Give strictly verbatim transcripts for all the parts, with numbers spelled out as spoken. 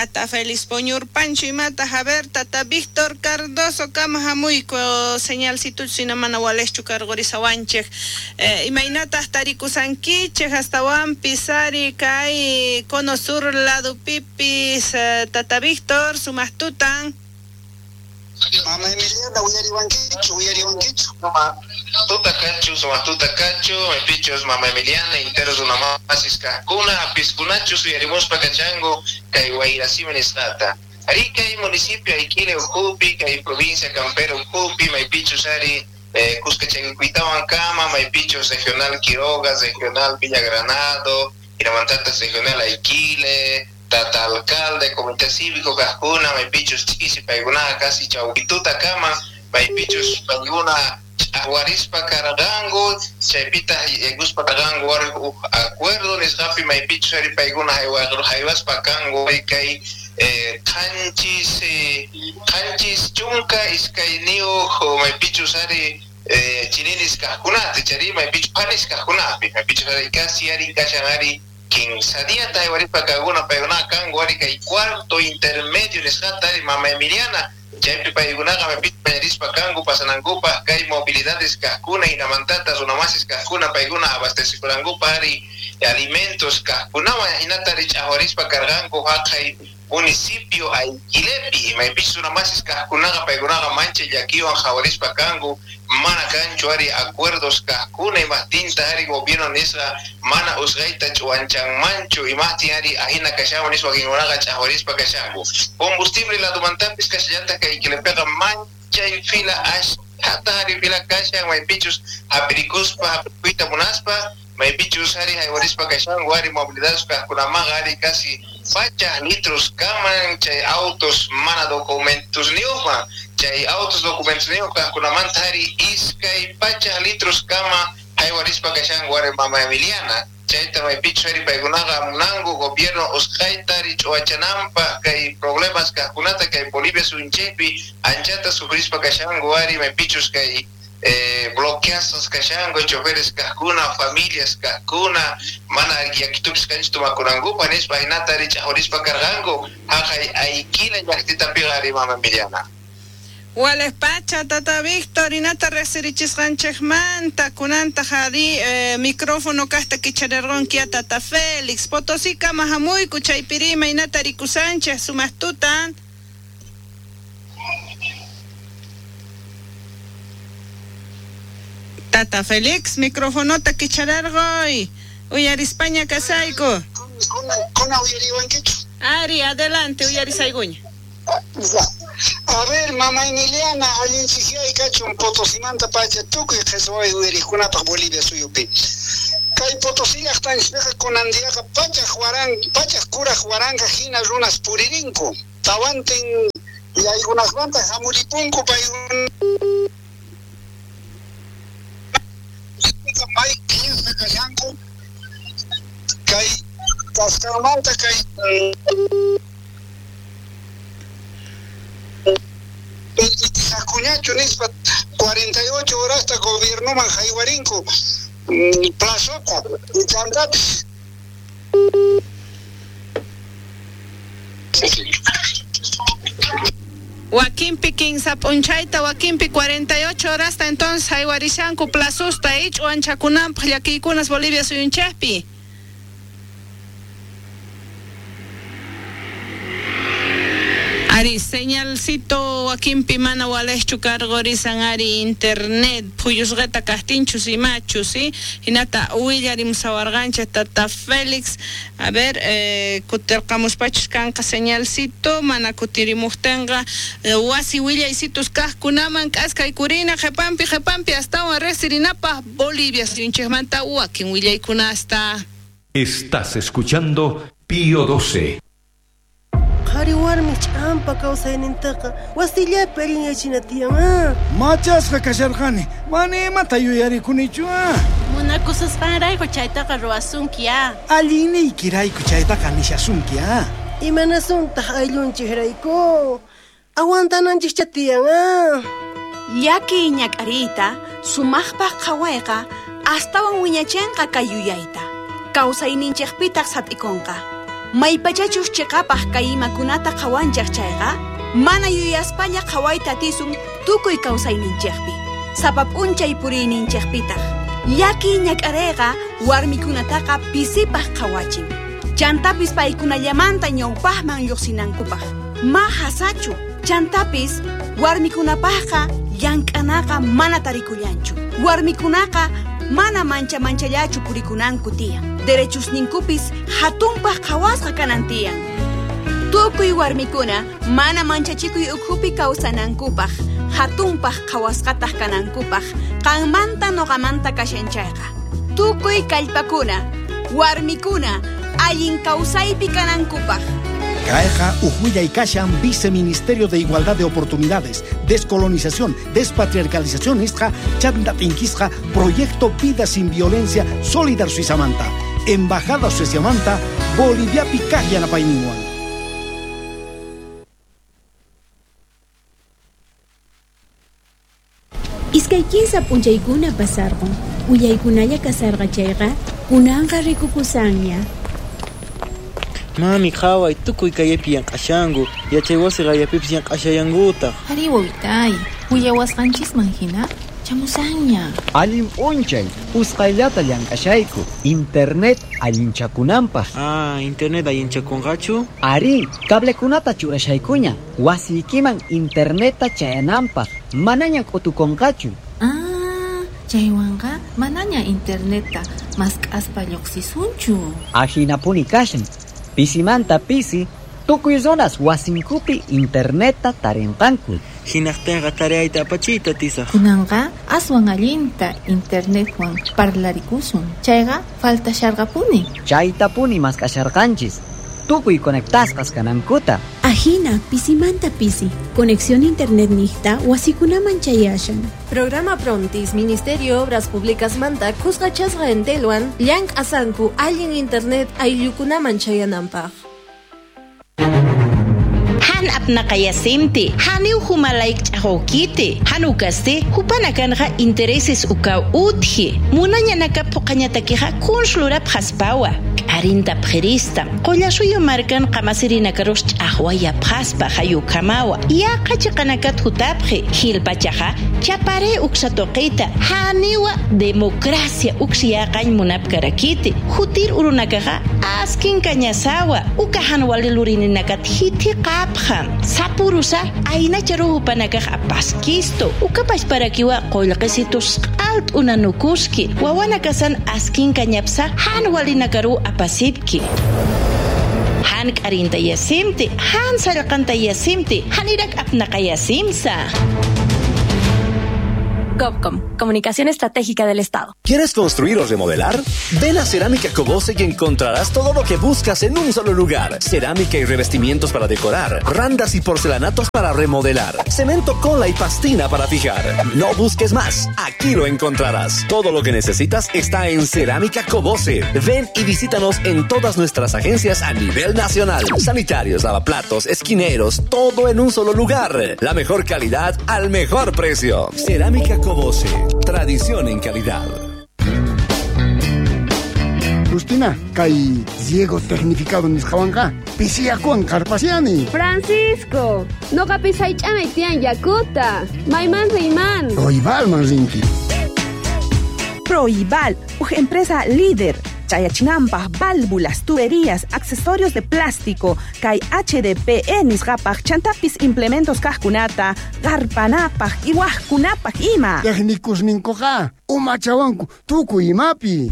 Tata Félix Poñurpancho imata, a ver, Tata Víctor Cardoso kama hamuyku señalcito sina mana walejchu karqurisawanchej eh, imaynataq tarikusankichej hastawanpis ari kay cono sur lado pipis eh, Tata Víctor sumaqtutan. Mama Emiliana, uyariwankichu, uyariwankichu. Tuta kachu, sumaqtuta kachu, maypichus Mama Emiliana, interos runamasis kajkuna, apiskunachus uyarimuspa kachango, kay Wayrasimi nisqata. Ari kay municipio Aiquile ukhupi, kay provincia Campero ukhupi, maypichus ari eh, Cuscachaykuitawan kama, maypichus regional Quiroga, regional Villa Granado, Iramantatas regional Aiquile, Tata alcalde, comité cívico, kajkuna, maypichus ch'isi paykuna casi chawpituta kama, maypichus paykuna ch'aqwarispa karqanku, chaypita yaykuspa karqanku wari uj acuerdo nisqapi maypichus ari paykuna haywaspa kanku kay eh, qanchis eh, qanchis chunka iskayniyuq maypichus ari eh, chirinis kajkunata, chari maypichus panis kajkunapi, maypichus ari casi ari kashan ari quince días haywarispa kaguna paykuna kanku ari kay cuarto intermedio nisqata ari Mama Emiliana, chaypi paykunaqa maypichus mañarispa kanku pasanankupaq kay movilidades kajkuna hinamantata runamasis kajkuna paykuna abastecikunankupaq ari alimentos kajkunawan hinata ari ch'aqwarispa karqanku haqay municipio Aiquilepi, maypichus runamasis kajkunaqa paykunaqa mancha llakiwan qhawarispa kanku mana kanchu ari acuerdos kajkuna imajtinta ari gobierno nisqa mana usqayta ch'uwanchanmanchu imajtin ari ajina kashanwan nispa wakinkunaqa ch'aqwarispa kashanku. Combustible ladumantapis kashallata kay Aiquilepiqa manchay fila ashkhata ari fila kashan maypichus hapirikuspa hapirikuyta munaspa maypichus ari haywarispa kashanku ari movilidades kajkunamanqa ari casi pachaj litros kaman chay autos mana documentos niyuqman chay autos documentos niyuq kajkunamanta ari iskay pachaj litros kama haywarispa kashanku ari Mama Emiliana, chayta maypichus ari paykunaqa munanku gobierno usqhayta ari ch'uwachananpaq kay problemas kajkunata kay Bolivia suyunchikpi anchata sufrispa kashanku ari maypichus kay eh, bloqueasos kashanku choferes kajkuna familias kajkuna mana yakitupis kanchu tumakunankupa nispa hinata ari ch'aqwarispa karqanku haqay Aiquile llaqtitapiqa ari Mama Emiliana. Wales pacha, Tata Víctor, inata resirichisqanchikmanta kunanta ari eh, micrófono kasta kicharerqonkia Tata Félix, Potosí kama hamuyku chaypiri imaynata rikusanchej sumaqtutan. Tata Félix, microfonota kicharerqoy, uyarispaña kasayku. Kuna uyariwankichu? Ari, adelante, uyarisaykuña. A ver, Mama Emiliana, allinchikyay kachun Potosimanta pacha tukuy qhesway uyariqkunapaq Bolivia suyupi. Kay Potosí llaqtanchikpiqa kunan diaqa pachaj waran, pachaj kuraj waranqa hina runas puririnku. Tawantin yaykunasmanta hamuripunku paykuna may quince kashanku kay kasqanmanta kay Sacuñacho nispa cuarenta y ocho horasta gobiernoman haywarinku plazota y chantapis. Wakinpi kinsa p'unchayta, wakinpi cuarenta y ocho horasta entonces haywarishanku plazusta ich'uanchakunanpaq llakiykunas Bolivia suyunchikpi. Ari, señalcito wakinpi mana walejchu karqurisan ari internet phuyusqata kaqtinchus imachus, ¿sí? Hinata willarimusawarqanchik Tata Félix. A ver, eh, kutirqamuspachus kanqa señalcito, mana kutirimuqtinqa eh, wasi willaycitos kaqkunaman k'askaykurina qhipanpi qhipanpi astawan riqsirinapaq Bolivia suyunchikmanta wakin willaykunasta. Estás escuchando Pío doce. Qhari warmi ch'ampa kawsaynintaqa wasillapi allinyachina tiyan ah. Machasqa kasharqani, mana imata yuyarikunichu ah. Munakususqanrayku chaytaqa ruwasunki ah. Allinniykirayku chaytaqa nishasunki ah. Imanasuntaq ayllunchikrayku, aguantananchikcha tiyan ah. Llaki ñak'ariyta sumaqpaq qhawayqa astawan wiñachinqa kay yuyayta, kawsayninchikpitaq sat'ikunqa. Maypachachus chiqapaq kay imakunata qhawanchaq chayqa, mana yuyaspalla qhawayta atisun tukuy kawsayninchikpi, sapa p'unchay puriyninchikpitaq. Llaki ñak'arayqa warmikunataqa pisipaq qhawachin. Chantapis paykunallamanta ñawpaqman lluqsinankupaq. Ma hasachu, chantapis warmikunapaqqa llank'anaqa mana tarikullanchu. Warmikunaqa mana mancha manchallachu purikunanku tiyan. Derechusninkupis hatunpaq qhawasqa kanan tiyan. Tukuy warmikuna mana manchachikuy ukhupi kawsanankupaq, hatunpaq qhawasqataq kanankupaq, qanmanta noqamanta kashan chayqa. Tukuy kallpakuna, warmikuna, allin kawsaypi kanankupaq. Kayqa uj kashan Viceministerio de Igualdad de Oportunidades, Descolonización, Despatriarcalización nisqa chanta tinkisqa Proyecto Vida Sin Violencia Solidar Suizamanta, Embajada Suizamanta, Boliviapi kaq yanapayninwan. Iskay kinsa p'unchaykuna pasarqun, willaykunalla kasarqa chayqa, kunanqa rikukusanña. Mami, qhaway, tukuy kayapi llank'ashanku, yachay wasi qayapipis llank'ashallankutaq. Ari wawitay, willawasqanchisman hina chamusanña. Allin p'unchay, usqhayllata llank'ashayku, internet allinchakunanpaq. Ah, internet allinchakunqachu? Ari, cablekunata churashaykuña, wasiykiman internetta chayananpaq, manaña k'utukunqachu. Ah, chaywanqa manaña internetta mask'aspa lluqsisunchu. Ahinapuni kashan. Pisimanta pisi, tukuy runas wasinkupi internetta tarinqanku. Hinaqtinqa tareyta apachiyta atisaq. Kunanqa aswan allinta internetwan parlarikusun. Chayqa faltasharqapuni. Chaytapuni mask'asharqanchis. Tukuy conectasqas kanankuta. Ajina, pisimanta pisi. Conexión internet niqta wasikunaman chayashan. Programa Prontis, Ministerio Obras Públicas manta kusqachasqa entelwan llank'asanku allin internet ayllukunaman chayananpaq. Han apnaqayasimti, haniw humalayk ch'aqawkiti, hanukasti hupanakanqa intereses ukaw utji, munañanaka puqañatakiqa kunslurap haspawa. Arinta pjerista, qollasuyo markan qamasirinakarush ch'aqwaya phaspa hayukamawa, yaqa chiqanakat hutapji, hilpachaqa chapare uksatoqita, haniwa democracia uksiyaqañ munapkarakiti, hutir urunakaqa askin kañasawa, ukahan walilurinakat hiti qapja, sapurusa aynacharu hupanakaq apaskisto, ukapasparakiwa qollqisitus q'alt unanukuski, wawanakasan askin kañapsa han walinakaru apasipki. Han k'arinta yasimti, han sallqanta yasimti, hanirak apnaqayasimsa. GovCom, Comunicación Estratégica del Estado. ¿Quieres construir o remodelar? Ven a Cerámica Cobose y encontrarás todo lo que buscas en un solo lugar. Cerámica y revestimientos para decorar, randas y porcelanatos para remodelar, cemento, cola y pastina para fijar. No busques más, aquí lo encontrarás. Todo lo que necesitas está en Cerámica Cobose. Ven y visítanos en todas nuestras agencias a nivel nacional. Sanitarios, lavaplatos, esquineros, todo en un solo lugar. La mejor calidad al mejor precio. Cerámica Cobose, tradición en calidad. Justina, kay riego tecnificado nisqawanqa pisiyakuwan qarpasiani. Francisco, noqapis haych'anay tiyan yakuta. Mayman riyman. Proibalman rinki. Proibal, uj empresa líder. Chayachinanpaq, válvulas, tuberías, accesorios de plástico, kay H D P E nisqapaq, chantapis implementos kaqkunata, qarpanapaq, iwaqkunapaq ima. Técnicos ninkuqa, umachawanku, tukuy imapi.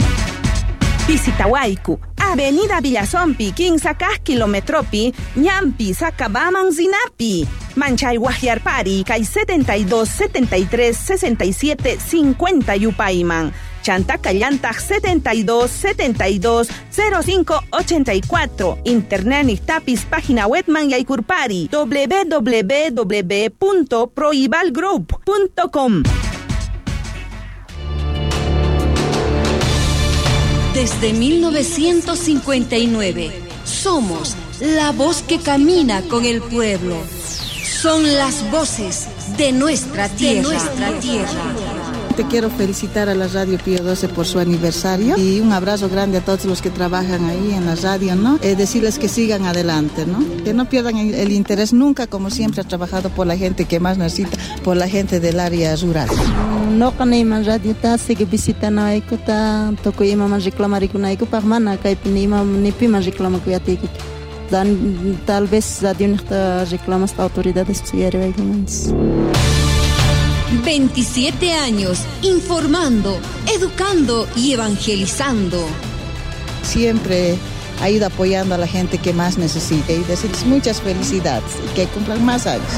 Visitawayku, Avenida Villazompi, kinsa kaq kilometropi, ñampi, Sacabaman, Zinapi. Manchay Guajiarpari, kay setenta y dos, setenta y tres, sesenta y siete, cincuenta yupayman. Chanta Callantag setenta y dos, setenta y dos, cero cinco, ochenta y cuatro. Internet Nictapis, página webman yaykurpari, doble u doble u doble u punto proibalgroup punto com. Desde mil novecientos cincuenta y nueve, somos la voz que camina con el pueblo. Son las voces de nuestra tierra. De nuestra tierra. Te quiero felicitar a la Radio Pío doce por su aniversario y un abrazo grande a todos los que trabajan ahí en la radio, ¿no? Eh, decirles que sigan adelante, ¿no? Que no pierdan el, el interés nunca, como siempre ha trabajado por la gente que más necesita, por la gente del área rural. No kanayman radiota sigue visitanaykuta tukuy imaman reclamarikunayku mana kaypi ni ima ni piman reclamakuyatiykuchu. Tal vez radionejta reclamaspa autoridades uyariwaykumanchis. veintisiete años informando, educando y evangelizando. Siempre ha ido apoyando a la gente que más necesita y decirles muchas felicidades y que cumplan más años.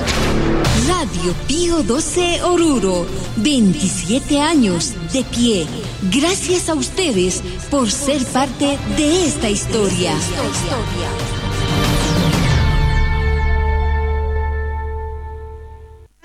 Radio Pío doce Oruro, veintisiete años de pie. Gracias a ustedes por ser parte de esta historia.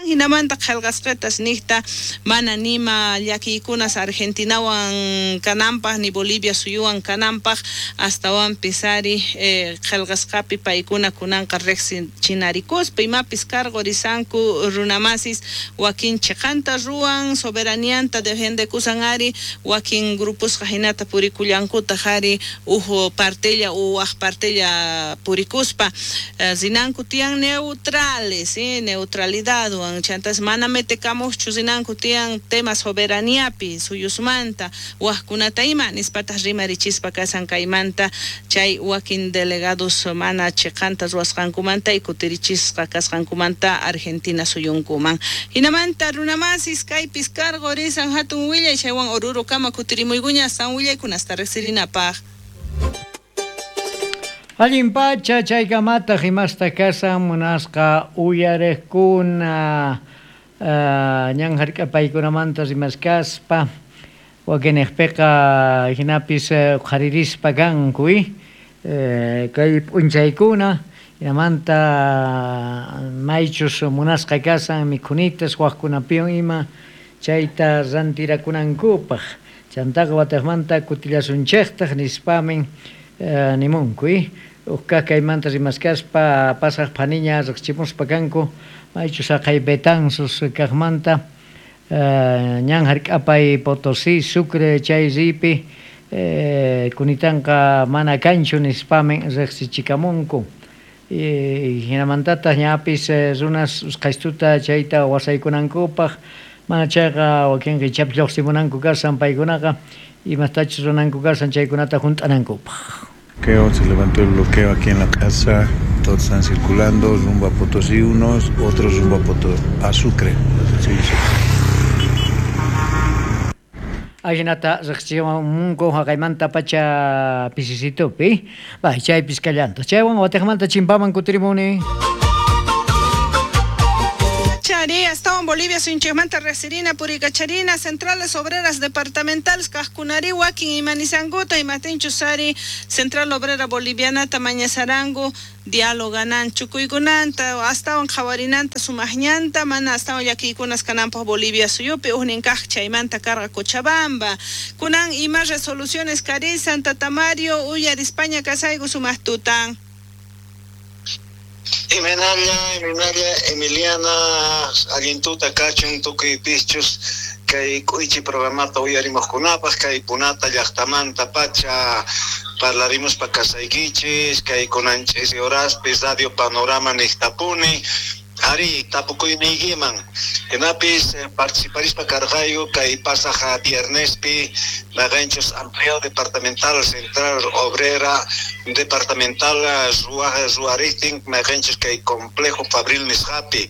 Hinamanta qhelqasqetas niqta mana nima llakiykunas Argentinawan kananpaq ni Bolivia suyuwan kananpaq astawanpis ari eh, qhelqasqapi paykuna kunanqa riqsichinarikuspa imapis cargorisanku runamasis wakin chiqanta ruwan soberanianta defendekusan ari wakin grupusqa hinata purikullankutaq ari uj partella u waj partella purikuspa eh, rinanku tiyan neutrales eh, neutralidadwan chantas mana metekamuqchu rinanku tiyan tema soberaniapi suyusmanta wajkunata ima nispataq rimarichispa kasan kaymanta chay wakin delegados mana chiqanta ruwasqankumanta y kutirichisqa kasqankumanta Argentina suyunkuman. Hinamanta runamasis kaypis cargorisan hatun willay chaywan Oruro kama kutirimuykuña san willaykunasta riqsirinapaq. Allin pacha chaykamataq imasta kasan munasqa uyariqkuna uh, ñan hark'apaykunamanta rimaskaspa wakinejpiqa hinapis qharirispa kanku eh, kay p'unchaykuna hinamanta maychus munasqa kasan mikhunitas wajkunapiwan ima chayta rantirakunankupaq chantaqa wataqmanta kutillasunchejtaq nispamin eh, nimunku uqkaq kaymanta rimaskaspa pasaq phaniña riqchimuspa kanku maychus haqay Betanzos kaqmanta uh, ñan hark'apay Potosí Sucre chay ripi eh, kunitanqa mana kanchu nispamin riqsichikamunku eh, hinamantataq ñapis eh, runas usqhaystuta chayta wasaykunankupaq mana chayqa wakinqa ichapis lluqsimunanku kasan paykunaqa imastachus runanku kasan chaykunata hunt'anankupaq. Se levantó el bloqueo aquí en la casa, todos están circulando rumbo a Potosí unos, otros rumbo a, Potosí, a Sucre. Sí, sí. Ajinata riqsimunku haqaymanta pacha pisisitupi, bay chaypis kallanta. Chaywan wataqmanta chimpaman kutirimuni. Chari, hasta en Bolivia, Sunchemanta, Resirina, Puricacharina, Centrales Obreras Departamentales, Cajcunari, Huaquín y Manizanguta, y Matinchusari, Central Obrera Boliviana, Tamañazarango, dialoganan, Chucuygunanta, hasta en Jawarinanta, Sumajñanta, mana, hasta en Yaquikunas, Canampa, Bolivia, Suyupi, Ujnincaj, Chaymanta, Carga, Cochabamba, Kunan, y más resoluciones, Cari, Santa Tamario, Uyar, España, Casaigo, Sumajtutan. Imenalla, Imenalla, Emiliana, allintuta kachun tukuy pischus kay k'uychi programata uyarimuqkunapaq kay punata llaqtamanta pacha parlarimuspa kasaykichis kay kunanchis horaspis Radio Panorama niqtapuni Ari tapukuyniykiman hinapis participarispa karqayku kay pasaq viernespi maqanchus Amplio Departamental Central Obrera Departamental ruwariqtin maqanchus kay Complejo Fabril nisqapi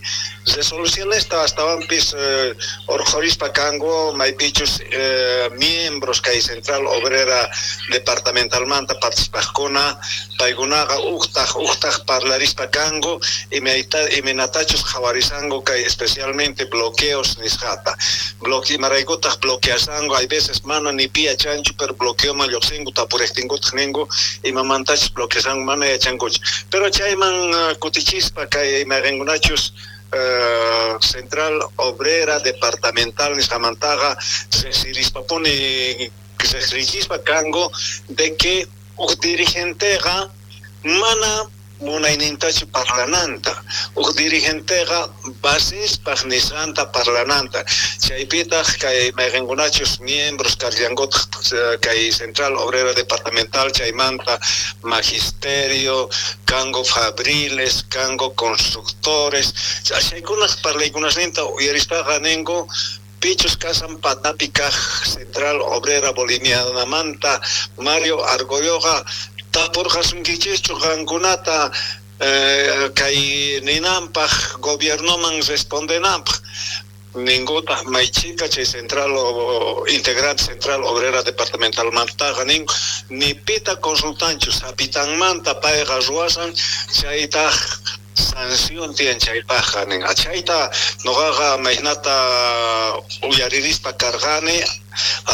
resolución esta astawanpis eh, urqhurispa kanku maypichus eh, miembros kay Central Obrera Departamentalmanta participaqkuna paykunaqa uqtaq uqtaq parlarispa kanku imayta imaynatachus qhawarisanku kay especialmente bloqueos nisqata bloque imaraykutaq bloqueasanku hay veces mana ni pi yachanchu pero bloqueoman lluqsinku tapuriqtinkutaq ninku imamantachus bloqueasanku mana yachankuchu pero chayman uh, kutichispa kay imayqinkunachus Uh, Central Obrera Departamental nisqamantaqa riqsirispapuni riqsichispa kanku de que uj dirigenteqa mana munaynintachu parlananta uj dirigenteqa basespaj nisqanta parlananta chaypitaq kay mayqinkunachus miembros karllankutaq kay Central Obrera Departamental chaymanta magisterio kango fabriles kango constructores chaykunaj parlaykunasninta uyarispaqa ninko pichus kasan patapi kaj Central Obrera Bolivianamanta Mario Argolloqa tapurqasunkichikchu qankunata eh, kay ninanpaj gobiernoman respondenanpaj ninkutaq maychika chay Central o, integrante Central Obrera Departamental mantaqa nin ni pita consultanchu sapitanmanta payqa ruwasan chaytaq sanción tiyan chaypajqa nin achayta noqaqa maynata uyaririspa karqani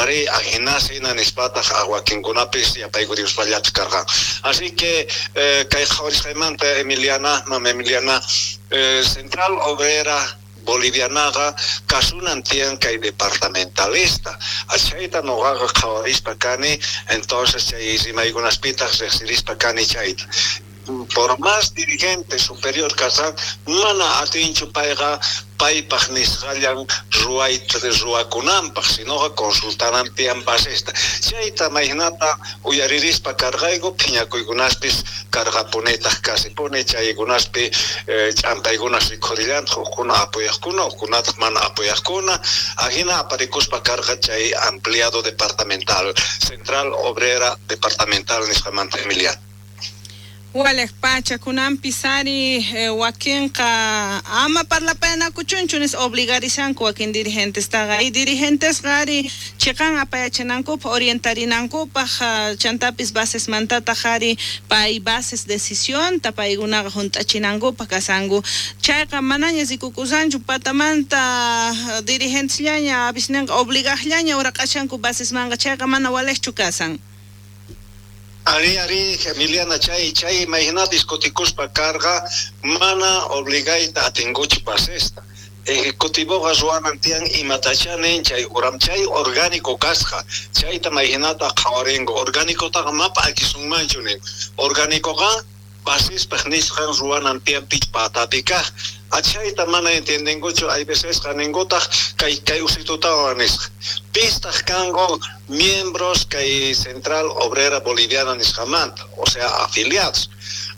ari ajinasina nispataq wakinkunapis yapaykurispallataj karqan. Así que eh, kay qhawarisqaymanta Emiliana, mama Emiliana, eh, Central Obrera Bolivianaqa kasunan tiyan kay departamentalista achayta noqaqa qhawarispa kani, entonces chay rimaykunaspitaq riqsirispa kani chayta. Por más dirigente superior kasan mana atinchu payqa paypaj nisqallan ruwayta ruwakunanpaj sinoqa consultanan tiyan basesta chayta maynata uyaririspa karqayku phiñakuykunaspis karqapunitaq kasipuni chaykunaspi eh, ch'ampaykunas rikhurillantaj hujkuna apoyaqkuna hujkunataq mana apoyaqkuna ajina aparikuspa karqa chay ampliado departamental Central Obrera Departamental nisqamanta Emiliana. Walej pacha kunanpis ari eh, wakinqa ama parlapayanakuchunchu obligarishanku wakin dirigentestaqa y dirigentesqa ari chiqan apayachinankupaj orientarinankupaj chantapis basesmantataq ari pay bases decisionta paykunaqa junt'achinankupaj kasanku chayqa manaña rikukusanchu patamanta dirigentesllaña avisninqa obligaqllaña uraqashanku basesmanqa chayqa mana walejchu kasan. Ari, ari, Emiliana, chay, chay, imagina discutikuspa carga, mana obligayta atinguchu basesta. Ejecutivoqa ruwanan tiyan imatachanin chay uram chay orgánico kasqa chayta mayhinata qhawarinku orgánicotaqa mapa akisunmanchu nin orgánicoqa basespaj nisqan ruwanan tiyan pich patapi kaq achayta mana entiendenkuchu hay veces ninkutaq kay kay usitutawan nisqa pistaq kanku miembros kay Central Obrera Boliviana nisqamanta o sea afiliados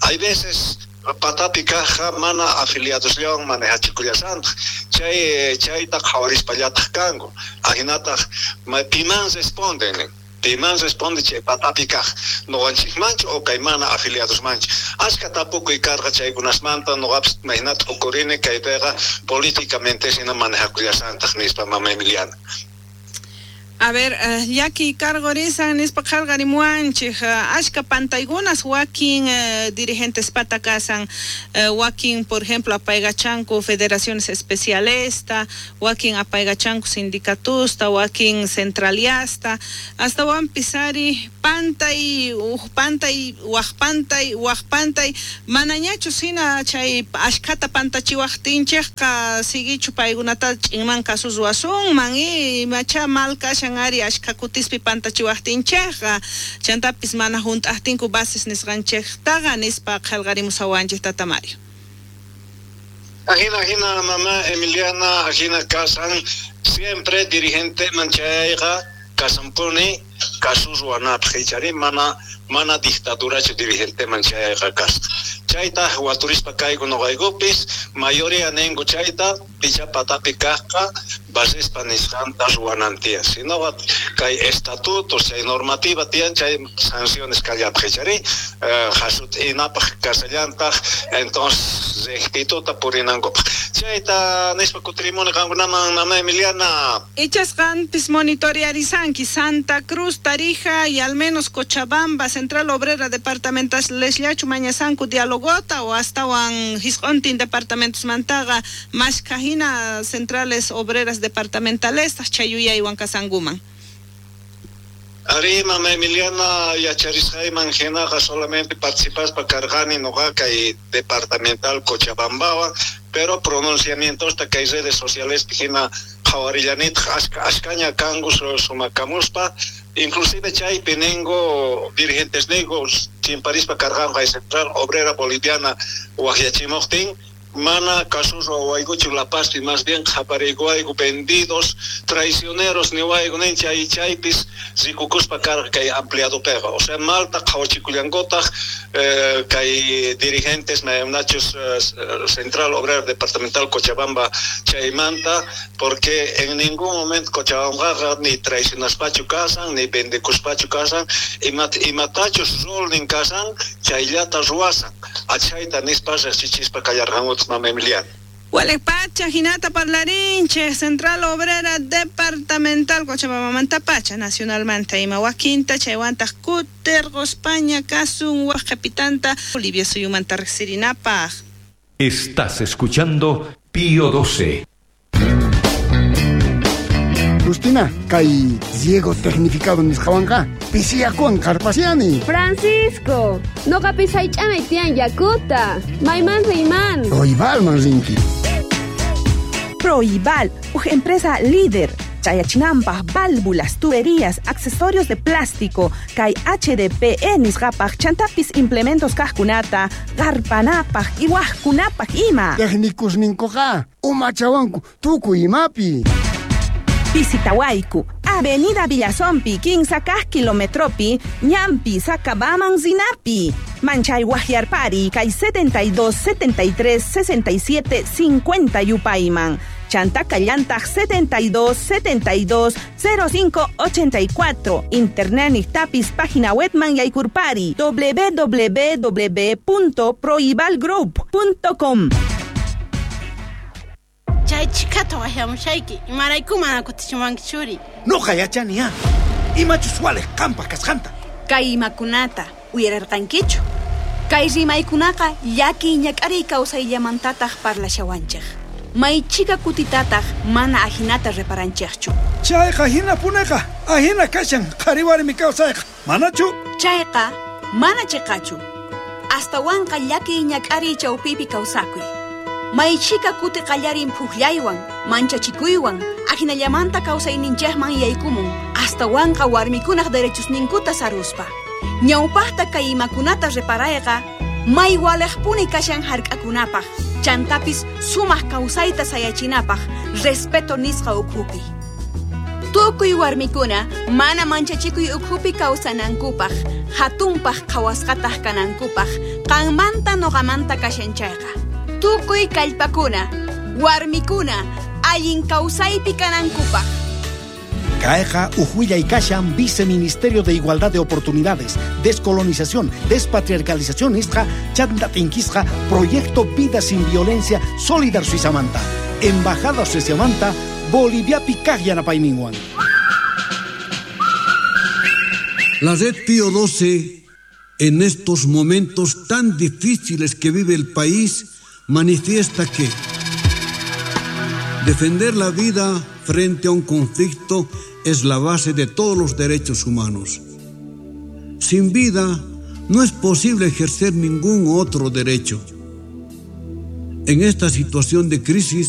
hay veces patapi kajqa mana afiliadosllawan manejachikullasantaq chay chayta qhawarispallataj kanku ajinataq piman responden nin piman responde chay patapi kaj noqanchikmanchu o kay mana afiliadosmanchu ashka tapukuy karqa chaykunasmanta noqapis maynata uqurini kaypiqa políticamente hina manejakullasantaq nispa mama Emiliana. A ver, uh, llaki karqurisan nispa qharqarimuwanchik uh, ashka pantaykunas wakin uh, dirigentes pata kasan uh, wakin por ejemplo apaygachanku federaciones especialesta wakin apaygachanku sindicatusta wakin centraliasta astawanpis ari pantay uj pantay waj pantay waj pantay manañachu hina chay ashkata pantachiwaqtinchikqa siguichu paykunata ch'inman kasus ruwasunman y imacha mal kashan ari ashka kutispi pantachiwaqtinchikqa chantapis mana junt'aqtinku bases nisqanchiktaqa nispa qhalqarimusawanchik tata Mario. Ajina, ajina, mamá Emiliana, ajina kasan siempre dirigente manchayqa kasanpuni kasus ruwanapaj ichari mana mana dictadurachu dirigente manchayqa kasqa chayta waturispa kayku noqaykupis mayoría ninku chayta picha patapi kajqa basespa nisqanta ruwanan tiyan sinoqa kay estatutos chay normativa tiyan chay sanciones kallapaj ichari jasut'inapaj kasallantaq entonces rectituta purinankupaj chayta nispa kutirimuni qankunaman mama Emiliana. Ichasqanpis monitorearisanki Santa Cruz, Tarija y al menos Cochabamba, Central Obrera Departamental lesllachu mañasanku dialogota o astawan hisq'untin departamentos mantaqa mashka hina centrales obreras departamentales chayuyaywan kasankuman. Ari, mama Emiliana, yacharisqayman hinaqa solamente participaspa karqani noqa kay departamental Cochabambawan, pero pronunciamientosta kay redes sociales hina qhawarillanitaq ashka ashkaña kanku sumakamuspa inclusive chaypi ningo dirigentes ningo Chimparispa karqanqa Central Obrera Boliviana waqyachimuqtin mana kasus ruwaykuchu La Pazpi, más bien qhapariykuwayku vendidos, traicioneros niwayku nin chay chaypis rikukuspa karqa kay ampliadopiqa. O sea, malta qhawachikullankutaq eh, kay dirigentes maymanachus eh, Central Obrera Departamental Cochabamba chaymanta, porque en ningún momento Cochabambaqa ni traicionaspachu kasan, ni vendekuspachu kasan, imat, imatachus rulnin kasan, chayllata ruwasan. Achayta nispa riqsichispa kallarqanku mama Emiliana. Pacha, hinata parlarinche, Central Obrera Departamental Cochabamba Pacha, Nacionalmanta ima wakinta, chaywantaq kutirquspaña kasun waq qhipitanta Bolivia suyumanta riqsirinapaq. Estás escuchando Pío doce. Justina, kay riego tecnificado nisqawanqa pisiyakuwan qarpasiani. Francisco, noqapis haych'anay tiyan yakuta. Mayman riyman. Proibalman rinki. Proibal, uj empresa líder. Chayachinanpaj, válvulas, tuberías, accesorios de plástico, kay H D P E nisqapaj, chantapis implementos kajkunata, qarpanapaj, iwajkunapaj ima. Técnicos ninkuqa, umachawanku, tukuy imapi. Visitawayku, Avenida Villazompi, quince kaj kilometropi, Ñampi, Sacabaman, Zinapi. Manchay Guajiarpari, kay setenta y dos, setenta y tres, sesenta y siete, cincuenta Yupayman. Chanta Callantag setenta y dos, setenta y dos, cero cinco, ochenta y cuatro. Internet y tapis página webman Yaykurpari, doble u doble u doble u punto proibalgroup punto com. Chay chikata waqyamushayki, imarayku mana kutichiwanki churi. Noqa yachani imachus waliq qanpaq kasqanta. Kay imakunata uyararqankichu. Kay rimaykunaqa llakiy ñak'ariy kawsayllamantataq parlashawanchik. Maychika kutitataq mana ahinata reparanchikchu. Chayqa hinapuneqa, ahina kashan qhari warmi kawsayqa, manachu? Chayqa mana chiqachu. Astawanqa llakiy ñak'ariy chawpipi kawsakuy. Maychika kuti qallarin phuqllaywan, manchachikuywan, ahinallamanta kawsayninchikman yaykumun, astawanqa warmikunaq derechosninkuta saruspa. Ñawpaqta kay imakunata reparayqa, may waliqpuni kashan hark'akunapaq, chantapis sumaq kawsayta sayachinapaq, respeto nisqa ukhupi. Tukuy warmikuna mana manchachikuy ukhupi kawsanankupaq, hatunpaq qhawasqataq kanankupaq, qanmanta noqamanta kashan chayqa. Tukuy kallpakuna, warmikuna, allin kawsaypi kanankupaq. Kayqa uj kashan Viceministerio de Igualdad de Oportunidades, Descolonización, Despatriarcalización nisqa, chanta tinkisqa, Proyecto Vida Sin Violencia, Solidar Suizamanta, Embajada Suizamanta, Boliviapi kaq yanapayninwan. La red Pío doce, en estos momentos tan difíciles que vive el país, manifiesta que defender la vida frente a un conflicto es la base de todos los derechos humanos. Sin vida no es posible ejercer ningún otro derecho. En esta situación de crisis,